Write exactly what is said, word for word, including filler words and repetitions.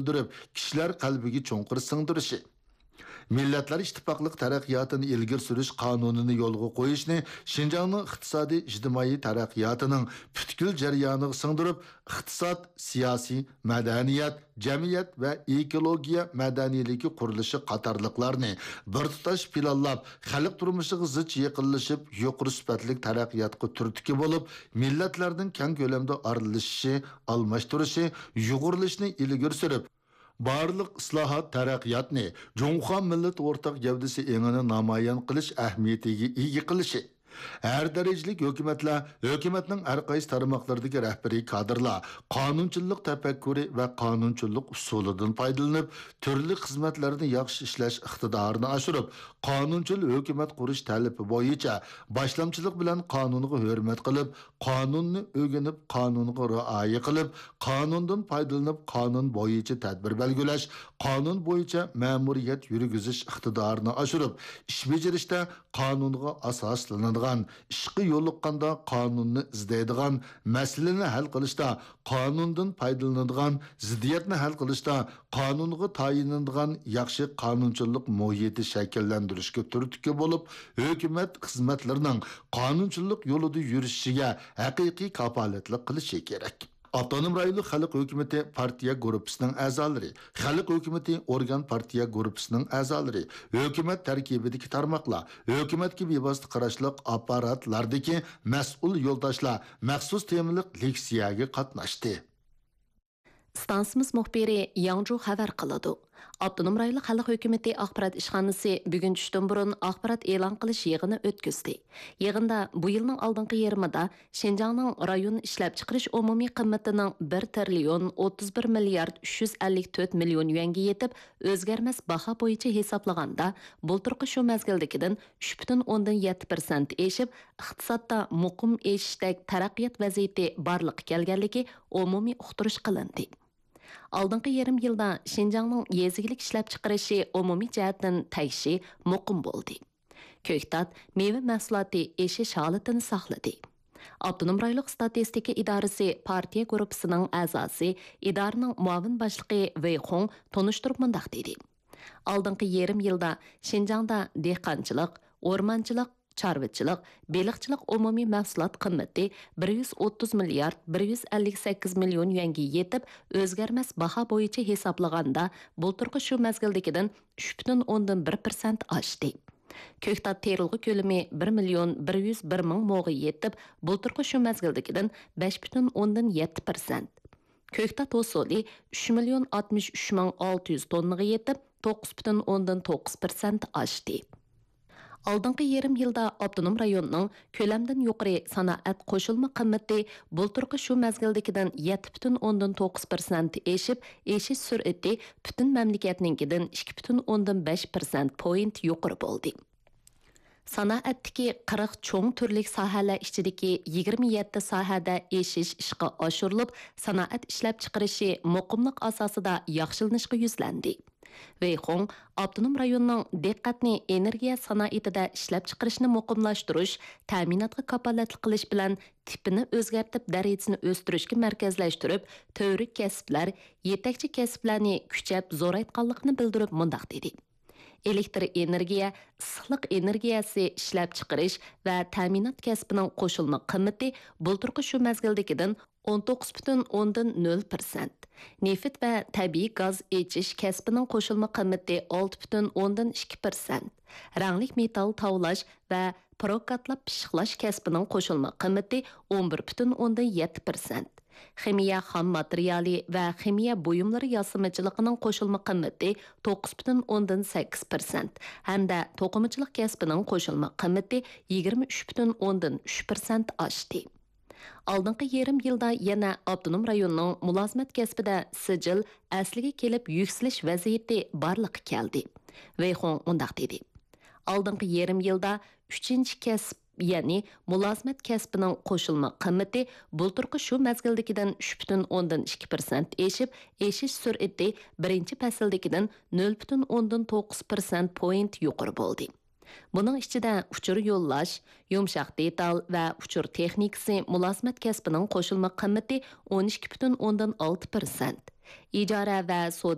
بىلدۈرۈپ، كىشىلەر قەلبىگە چوڭقۇر سىڭدۈرۈشى، مىللەتلەر ئىتتىپاقلىق تەرەققىياتىنى ئىلگىرى سۈرۈش قانۇنىنى يولغا قويۇشنى شىنجاڭنىڭ ئىقتىسادىي، ئىجتىمائىي تەرەققىياتىنىڭ پۈتكۈل جەريانىغا سىڭدۈرۈپ، ئىقتىساد، سىياسىي، مەدەنىيەت، جەمئىيەت ۋە ئېكولوگىيە مەدەنىيلىكى قۇرۇلۇشى قاتارلىقلارنى بىر تۇتاش پىلانلاپ، خەلق تۇرمۇشىغا زىچ يېقىنلىشىپ، يۇقىرى سۈپەتلىك تەرەققىياتقا تۈرتكە بولۇپ، مىللەتلەرنىڭ كەڭ كۆلەمدە ئارىلىشىشى، ئالماشتۇرۇشى، يۇغۇرۇلۇشىنى ئىلگىرى سۈرۈپ، بارلىق ئىسلاھات، تەرەققىياتنى جۇڭخۇا مىللىتى ئورتاق گەۋدىسى ئېڭىنى نامايان قىلىش ئەھمىيىتىگە ئىگە قىلىشى، ھەر دەرىجىلىك ھۆكۈمەتلەر، ھۆكۈمەتنىڭ ھەر قايسى تارماقلىرىدىكى رەھبىرىي كادىرلار قانۇنچىللىق تەپەككۇرى ۋە قانۇنچىللىق ئۇسۇلىدىن پايدىلىنىپ، تۈرلۈك خىزمەتلەرنى ياخشى ئىشلەش ئىقتىدارىنى ئاشۇرۇپ، قانۇنچىل ھۆكۈمەت قۇرۇش تەلىپى بويىچە باشلامچىلىق بىلەن قانۇنغا ھۆرمەت قىلىپ، قانۇننى ئۆگىنىپ، قانۇنغا رىئايە قىلىپ، قانۇندىن پايدىلىنىپ، قانۇن بويىچە تەدبىر بەلگىلەش، قانۇن بويىچە مەمۇرىيەت يۈرگۈزۈش ئىقتىدارىنى ئاشۇرۇپ، ئىش بېجىرىشتە قانۇنغا ئاساسلىنىدىغان، ئىشقا يولۇققاندا قانۇننى ئىزدەيدىغان، مەسىلىنى ھەل قىلىشتا قانۇندىن پايدىلىنىدىغان، زىددىيەتنى ھەل قىلىشتا قانۇنغا تايىنىدىغان ياخشى قانۇنچىلىق مۇھىتى شەكىللەندۈرۈشكە تۈرتكە بولۇپ، ھۆكۈمەت خىزمەتلىرىنىڭ قانۇنچىلىق يولىدا يۈرۈشىگە ھەقىقىي كاپالەتلىك قىلىشى كېرەك. ئاپتونوم رايونلۇق خەلق ھۆكۈمىتى پارتىيە گۇرۇپپىسىنىڭ ئەزالىرى، خەلق ھۆكۈمىتى ئورگان پارتىيە گۇرۇپپىسىنىڭ ئەزالىرى، ھۆكۈمەت تەركىبىدىكى تارماقلار، ھۆكۈمەتكە بىۋاسىتە قاراشلىق ئاپپاراتلاردىكى مەسئۇل يولداشلار مەخسۇس تېمىلىق لېكسىيەگە قاتناشتى. ئىستانسىمىز مۇخبىرى ياڭجۇ خەۋەر قىلىدۇ. ئاپتونوم رايونلۇق خەلق ھۆكۈمىتى ئاخبارات ئىشخانىسى بۈگۈن چۈشتىن بۇرۇن ئاخبارات ئېلان قىلىش يىغىنى ئۆتكۈزدى. يىغىندا بۇ يىلنىڭ ئالدىنقى يېرىمىدا شىنجاڭنىڭ رايون ئىشلەپچىقىرىش ئومۇمىي قىممىتىنىڭ بىر تىرىليون ئوتتۇز بىر مىليارد ئۈچ يۈز ئەللىك تۆت مىليون يۈەنگە يېتىپ، ئۆزگەرمەس باھا بويىچە ھېسابلىغاندا، بۇلتۇرقى شۇ مەزگىلدىكىدىن ئۈچ پۈتۈن ئوندىن يەتتە پىرسەنت ئېشىپ، ئىقتىسادتا مۇقىم ئېشىشتەك تەرەققىيات ۋەزىيىتى بارلىققا كەلگەنلىكى ئومۇمىي ئۇقتۇرۇش قىلىندى. ئالدىنقى يېرىم يىلدا شىنجاڭنىڭ يېزا ئىگىلىك ئىشلەپچىقىرىشى ئومۇمىي جەھەتتىن تەگىشى مۇقىم بولدى. كۆكتات مېۋە مەھسۇلاتى ئېشىش ھالىتىنى ساقلىدى. ئاپتونوم رايونلۇق ئىستاتىستىكا ئىدارىسى پارتىيە گۇرۇپپىسىنىڭ ئەزاسى، ئىدارىنىڭ مۇئاۋىن باشلىقى ۋېي خۇڭ تونۇشتۇرۇپ مۇنداق دېدى: ئالدىنقى يېرىم يىلدا شىنجاڭدا دېھقانچىلىق، ئورمانچىلىق، چارۋىچىلىق، بېلىقچىلىق ئومۇمىي مەھسۇلات قىممىتى بىر يۈز ئوتتۇز مىليارد بىر يۈز ئەللىك سەككىز مىليون يۈەنگە يېتىپ، ئۆزگەرمەس باھا بويىچە ھېسابلىغاندا، بۇلتۇرقى شۇ مەزگىلدىكىدىن ئۈچ پۈتۈن ئوندىن بىر پىرسەنت ئاشتى. كۆكتات تېرىلغۇ كۆلىمى بىر مىليون بىر يۈز بىر مىڭ موغا يېتىپ، بۇلتۇرقى شۇ مەزگىلدىكىدىن بەش پۈتۈن ئوندىن يەتتە پىرسەنت. كۆكتات ھوسۇلى ئۈچ مىليون ئاتمىش ئۈچ مىڭ ئالتە يۈز توننىغا يېتىپ، توققۇز پۈتۈن ئوندىن توققۇز پىرسەنت ئاشتى. ئالدىنقى يېرىم يىلدا ئاپتونوم رايوننىڭ كۆلەمدىن يۇقىرى سانائەت قوشۇلما قىممىتى بۇلتۇرقى شۇ مەزگىلدىكىدىن يەتتە پۈتۈن ئوندىن توققۇز پىرسەنت ئېشىپ، ئېشىش سۈرئىتى پۈتۈن مەملىكەتنىڭكىدىن ئىككى پۈتۈن ئوندىن بەش پىرسەنت پوينت يۇقىرى بولدى. سانائەتتىكى قىرىق چوڭ تۈرلۈك ساھەلەر ئىچىدىكى يىگىرمە يەتتە ساھەدە ئېشىش ئىشقا ئاشۇرۇلۇپ، سانائەت ئىشلەپچىقىرىشى مۇقىملىق ئاساسىدا ياخشىلىنىشقا يۈزلەندى. ۋېي خۇڭ ئاپتونوم رايوننىڭ دىققەتنى ئېنېرگىيە سانائىتىدە ئىشلەپچىقىرىشنى مۇقىملاشتۇرۇش، تەمىناتقا كاپالەتلىك قىلىش بىلەن تىپىنى ئۆزگەرتىپ، دەرىجىسىنى ئۆستۈرۈشكە مەركەزلەشتۈرۈپ، تۈۋرۈك كەسىپلەر، يېتەكچى كەسىپلەرنى كۈچەپ زورايتقانلىقىنى بىلدۈرۈپ مۇنداق دېدى: ئېلېكتر ئېنېرگىيە، ئىسسىقلىق ئېنېرگىيەسى ئىشلەپچىقىرىش ۋە تەمىنات كەسپىنىڭ قوشۇلما قىممىتى بۇلتۇرقى شۇ مەزگىلدىكىدىن ئون توققۇز پۈتۈن ئوندىن نۆل پىرسەنت، نېفىت ۋە تەبىئىي گاز ئېچىش كەسپىنىڭ قوشۇلما قىممىتى ئالتە پۈتۈن ئوندىن ئىككى پىرسەنت، رەڭلىك مېتال تاۋلاش ۋە پروكاتلاپ پىششىقلاش كەسپىنىڭ قوشۇلما قىممىتى ئون بىر پۈتۈن ئوندىن يەتتە پىرسەنت، خىمىيە خام ماتېرىيالى ۋە خىمىيە بۇيۇملىرى ياسىمىچىلىقىنىڭ قوشۇلما قىممىتى توققۇز پۈتۈن ئوندىن سەككىز پىرسەنت ھەمدە توقۇمىچىلىق كەسپىنىڭ قوشۇلما قىممىتى يىگىرمە ئۈچ پۈتۈن ئوندىن ئۈچ پىرسەنت ئاشتى. ئالدىنقى يېرىم يىلدا يەنە ئاپتونوم رايوننىڭ مۇلازىمەت كەسپىدە سىجىل ئەسلىگە كېلىپ يۈكسىلىش ۋەزىيىتى بارلىققا كەلدى. ۋېي خۇڭ مۇنداق دېدى: ئالدىنقى يېرىم يىلدا ئۈچىنچى كەسىپ، يەنى مۇلازىمەت كەسپىنىڭ قوشۇلما قىممىتى بۇلتۇرقى شۇ مەزگىلدىكىدىن ئۈچ پۈتۈن ئوندىن ئىككى پىرسەنت ئېشىپ، ئېشىش سۈرئىتى بىرىنچى پەسىلدىكىدىن نۆل پۈتۈن ئوندىن توققۇز پىرسەنت پوينت يۇقىرى بولدى. بۇنىڭ ئىچىدە ئۇچۇر يوللاش، يۇمشاق دېتال ۋە ئۇچۇر تېخنىكىسى مۇلازىمەت كەسپىنىڭ قوشۇلما قىممىتى ئون ئىككى پۈتۈن ئوندىن ئالتە پىرسەنت، ئىجارە ۋە سودا